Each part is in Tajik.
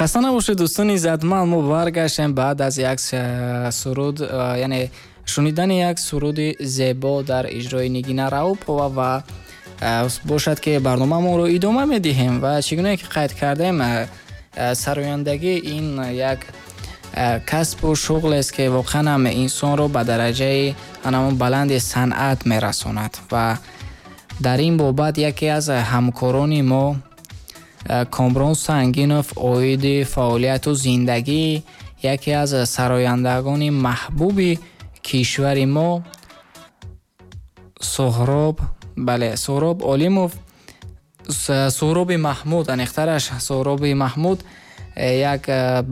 Хаста набошед, дӯстони иззатманд, мо баргаштем баъд аз як суруд, яъне шунидани як суруди зебо дар иҷрои Нигина Раупова ва бошад ки барномаамонро идома медиҳем ва чӣ гуна ки қайд кардем, сарояндагӣ ин як касбу шуғлест ки воқеан ҳам инсонро ба дараҷаи ҳамон баланди санъат мерасонад ва дар ин бобат яке аз ҳамкорони мо Комрон Сангинов оиди фаъолияту зиндагии яке аз сарояндагони маҳбуби кишвари мо Соҳроб, бале, Соҳроб Олимов, Соҳроби Маҳмуд, аниқтараш Соҳроби Маҳмуд як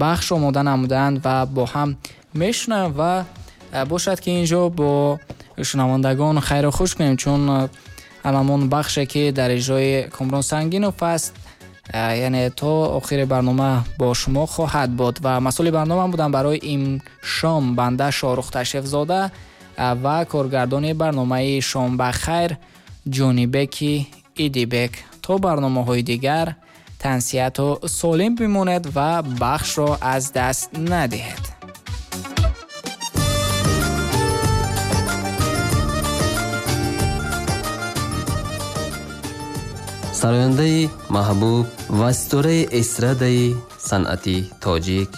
бахш омода намуданд ва бо ҳам мешунавем ва бошад ки инҷо бо шунавандагон хайру хуш кунем, чун ҳамон бахше ки дар иҷрои Комрон Сангинов аст, яъне то охири барнома бо шумо хоҳад буд ва масъули барнома будам барои ин шом банда Шоҳрух Ташрифзода ва коргардони барномаи Шом ба хайр Ҷонибеки Идибек. То барномаҳои дигар тансиҳату солим бимонед ва бахшро аз даст надиҳед. Сарояндаи маҳбуб ва ситораи эстрадаи санъати тоҷик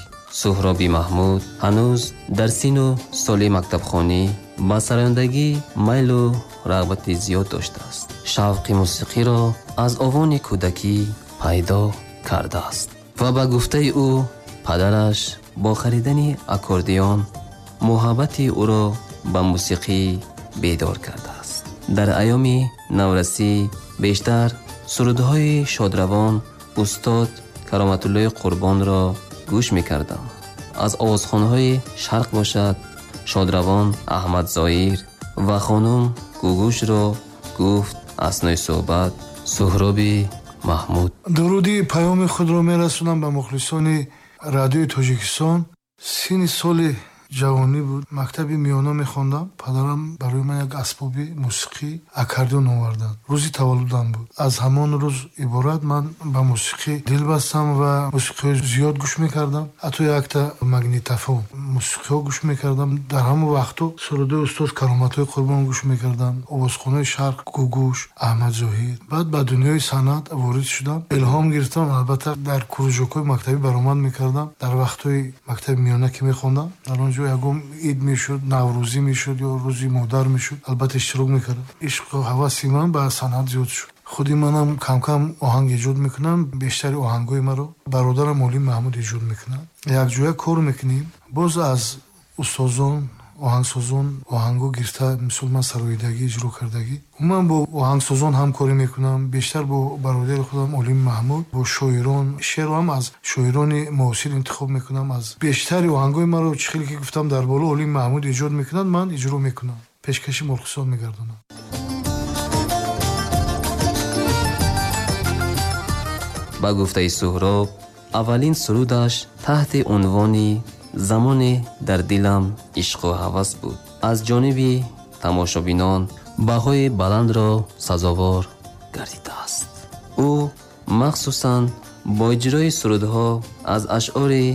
Суҳроби Маҳмуд ҳанӯз дар сину соли мактабхонӣ ба сарояндагӣ майлу рағбати зиёд доштааст. Шавқи мусиқиро аз овони кӯдакӣ пайдо кардааст ва ба гуфтаи ӯ падараш бо харидани аккордеон муҳаббати ӯро ба мусиқӣ бедор кардааст. Дар айёми наврасӣ бештар сурудҳои шодравон устод Кароматуллои Қурбонро гӯш мекардам. Аз овозхонҳои шарқ бошад шодравон Аҳмад Зоир ва хонум Гугӯшро гуфт аснои суҳбат Суҳроби Маҳмуд. Дуруди паёми худро мерасонам ба мухлисони радиои Тоҷикистон. Синни соли ҷавонӣ буд, мактаби миёна мехондам. Падарам барои ман як асбоби мусиқӣ аккордеон оварданд. Рӯзи таваллудам буд. Аз ҳамон рӯз иборат ман ба мусиқӣ дил бастам ва мусиқиҳои зиёд гӯш мекардам. Ҳатто якта магнитофон мусиқиҳо гӯш мекардам. Дар ҳамон вақту сурудҳои устод Кароматуллои Қурбон гӯш мекардам, овозхонаи шарқ Гугӯш, Аҳмад Зоҳир. Баъд ба дунёи санъат ворид шудам, илҳом гирифтам. Албатта дар кружокҳои мактабӣ баромад мекардам. Дар вақтҳои мактаби миёна ки мехондам, дар он ҷо ягон ид мешуд, наврӯзӣ мешуд ё рӯзи модар мешуд, албатта иштирок мекардам. Ишқу ҳаваси ман ба санъат зиёд шуд. Худи манам кам-кам оҳанг эҷод мекунам. Бештари оҳангҳои маро бародарам Олим Маҳмуд эҷод мекунад. Якҷоя кор мекунем. Боз аз устозон, оҳангсозон оҳангҳо гирифта, мисол ман сароидагӣ иҷро кардагӣ. Умуман бо оҳангсозон ҳамкорӣ мекунам, бештар бо бародари худам Олим Маҳмуд, бо шоирон. Шеърро ҳам аз шоирони муосир интихоб мекунам. Аз бештари оҳангҳои маро, чӣ хеле ки гуфтам дар боло, Олим Маҳмуд эҷод мекунад, ман иҷро мекунам, пешкаши мухлисон мегардонам. Ба гуфтаи Суҳроб, аввалин сурудаш таҳти унвони замоне дар дилам ишқу ҳавас буд аз ҷониби тамошобинон баҳои баландро сазовор гардидааст. Ӯ махсусан бо иҷрои сурудҳо аз ашъори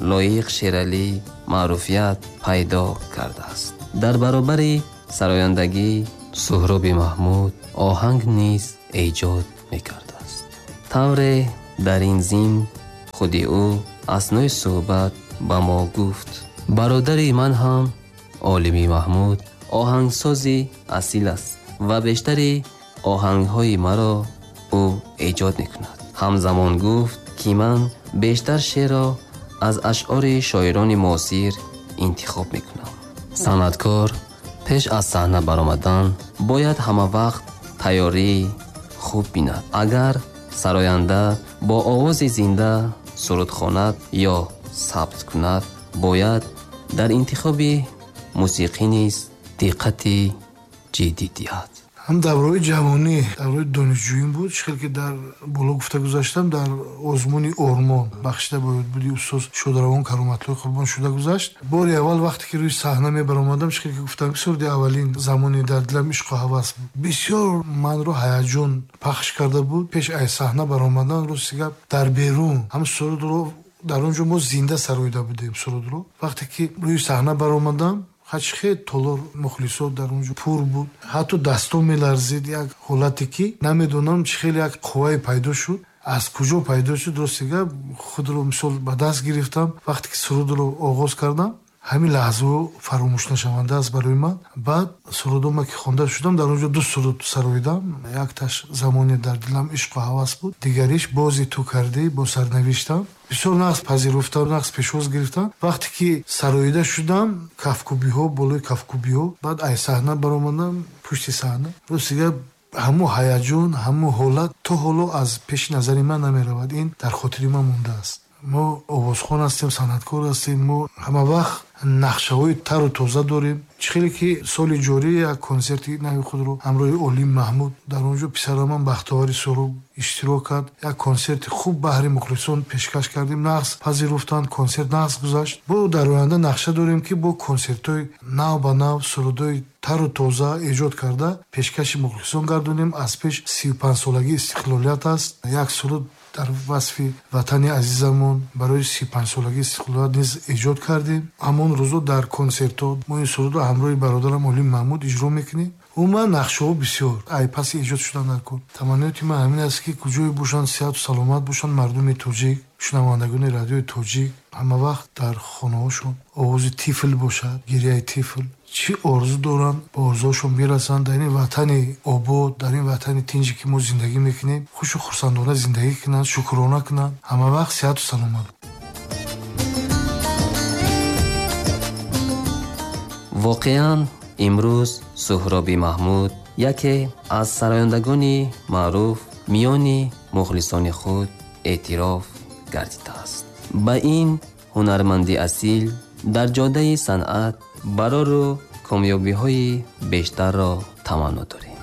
Лоиқ Шералӣ маъруфият пайдо кардааст. Дар баробари сарояндагӣ Суҳроби Маҳмуд оҳанг низ эҷод мекардааст. Тавре дар ин зимн худи ӯ аснои суҳбат ба мо гуфт: бародари ман ҳам Олими Маҳмуд оҳангсози асил аст ва бештари оҳангҳои маро ӯ эҷод мекунад. Ҳамзамон гуфт ки ман бештар шеърро аз ашъори шоирони муосир интихоб мекунам. Санъаткор пеш аз саҳна баромадан бояд ҳама вақт тайёрии хуб бинад. Агар сароянда бо овози зинда суруд хонад ё сабт кунад, бояд дар интихоби мусиқӣ низ диққати ҷиддӣ диҳад. Ҳам давраи ҷавонӣ, давраи донишҷӯим буд, чӣ хел ки дар боло гуфта гузаштам, дар озмуни Ормон бахшида бояд буди устод Шодравон Кароматуллои Қурбон шуда гузашт. Бори аввал вақте ки рӯи саҳна мебаромадам, чӣ хел ки гуфтам, суруди аввалин замони дар дилам ишқу ҳавас буд. Бисёр манро ҳаяҷон пахш карда буд. Пеш аз саҳна баромадан, рости гап, дар берун ҳам сурудро Дар он ҷо мо зинда сароида будем сурудро. Вақте ки рӯи саҳна баромадам, хачхе толор мухлисот дар он ҷо пур буд, ҳатто дастон меларзид. Як ҳолате ки намедонам чӣ хеле як қуввае пайдо шуд, аз куҷо пайдо шуд, рости гап худро мисол ба даст гирифтам. Вақте ки сурудро оғоз кардам, ҳамин лаҳзаҳо фаромӯшнашаванда аст барои ман. Баъд сурудома ки хонда шудам, дар он ҷо ду суруд сароидам. Якташ замоне дар дилам ишқу ҳавас буд, дигариш бози ту кардӣ бо сарнавиштам. Бисёр нағз пазируфтам, нағз пешвоз гирифтам. Вақте ки сароида шудам, кафкӯбиҳо болои кафкӯбиҳо, баъд ай саҳна баромадам, пушти саҳна. Рости гап ҳамун ҳаяҷон, ҳамун ҳолат то ҳоло аз пеши назари ман намеравад. Ин дар хотири ман мондааст. Мо овозхон ҳастем, санъаткор ҳастем, мо ҳама вақт нақшаҳои тару тоза дорем. Чӣ хеле ки соли ҷорӣ як консерти нави худро ҳамроҳи Олим Маҳмуд, дар он ҷо писараман Бахтовари Суҳроб иштирок кард. Як консерти хуб баҳри мухлисон пешкаш кардем, нағз пазируфтанд, консерт нағз гузашт. Бо дар оянда нақша дорем ки бо консертҳои нав ба нав, сурудҳои тару тоза эҷод карда пешкаши мухлисон гардонем. Аз пеш 35-солагии истиқлолият аст. Як суруд дар васфи ватани азизамон барои 35-солагии истиқлолият низ эҷод кардем. Ҳамон рӯзо дар консертҳо мо ин сурудро ҳамроҳи бародарам Олим Маҳмуд иҷро мекунем. Умуман нақшаҳо бисёр ай паси эҷод шудан дар кор. Таманниёти ман ҳамин аст ки куҷое бошанд, сиҳату саломат бошанд мардуми тоҷик, шунавандагони радиои тоҷик. Ҳама вақт дар хонаҳошон овози тифл бошад, гирияи тифл. Чӣ орзу доранд, ба орзуҳошон бирасанд. Дар ин ватани обод, дар ин ватани тинҷе ки мо зиндагӣ мекунем, хушу хурсандона зиндагӣ кунанд, шукрона кунанд. Ҳама вақт сиҳату саломат. Воқеан имрӯз Суҳроби Маҳмуд яке аз сарояндагони маъруф миёни мухлисони худ эътироф гардидааст. Ба ин ҳунарманди асил дар ҷодаи санъат барору комёбиҳои бештарро таманно дорем.